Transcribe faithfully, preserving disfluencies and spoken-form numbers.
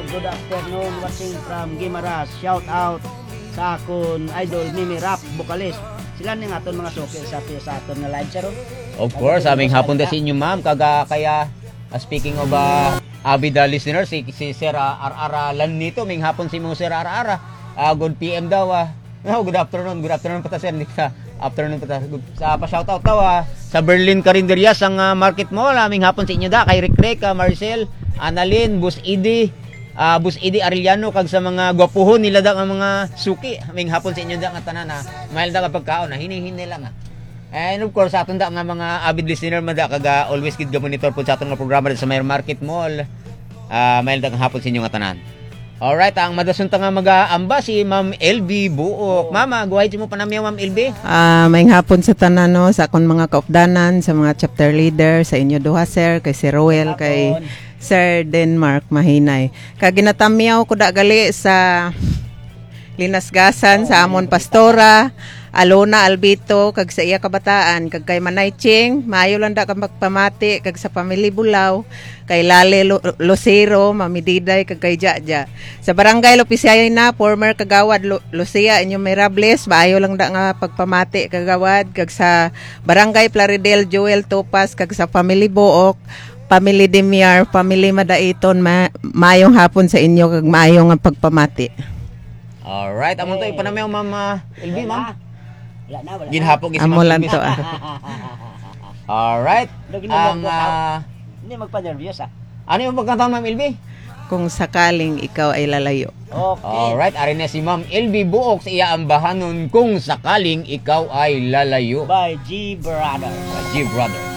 Good afternoon, watching from Guimaras. Shout out sa akon idol, Mimi Rap, vocalist. Sila ni nga aton mga suki sa, sa aton nga live, sir, oh. Of course, aming hapon da sa inyo, ma'am. Kaga kaya, ah, speaking of, ah, avid, ah, listener, si, si Sir, ah, Arara Lanito, ming hapon si mo, Sir Arara. Ah, good P M daw, ah. Oh, good afternoon, good afternoon pa ta, sir. Hindi sa afternoon pa ta. Good, sa pa-shoutout daw, ah. Sa Berlin Carinderia, sa, ah, Market Mall, aming hapon sa inyo da. Kay Rick Rick, ah, Marcel, Annalyn, Boss Edie, ah, Boss Edie Arellano, kag sa mga gwapuhon nila da nga mga suki. Aming hapon sa inyo da nga tanan, ah. Mahal da nga pagkaon, ah. Hini-hini lang, ah. And of course, sa aton da nga mga avid listener man da, kag, ah, always gid ga-monitor po sa aton nga programa sa Mayor Market Mall. Ah, may lang hapon sa inyo nga tanan. Alright, ang madason ta nga mag-aamba si Ma'am L B Buok. Mama, guhay mo panamyaw, Ma'am L B. Ah, maayong hapon sa tanan, no, sa akon mga kaupdanan, sa mga chapter leader, sa inyo duha, sir, kay Sir Roel, kay Sir Denmark Mahinay. Kag ginatamyaw ko da gali sa linasgasan sa amon pastora, Alona Albito, kag sa iya kabataan, kag kay Manay Ching, maayo lang da ka magpamati, kag sa Family Bulaw, kay Lale Lu-, Lucero, Mami Diday, kag kay Jaja. Sa Barangay Lopisiay na, former Kagawad Lu-, Lucia Inyomirable, maayo lang da nga pagpamati, Kagawad, kag sa Barangay Plaridel, Joel Topas, kag sa Family Buok, Family Demiar, Family Madaiton, ma-, maayong hapon sa inyo, kag maayo nga pagpamati. Alright, amo to ipanamyaw, Ma'am, ah, L B, ma'am. Wala na, wala na. Ginhapon gid si Amo Ma'am lang L B. to, ah. Alright. Lagi na Ang, lang, ah, Hindi magpa-nervous, ah. Ano yung pagkanta, Ma'am L B? Kung sakaling ikaw ay lalayo. Okay. Alright, ari na si Ma'am L B Buok sa iya ambahanon, Kung Sakaling Ikaw Ay Lalayo. By G Brothers. G Brothers.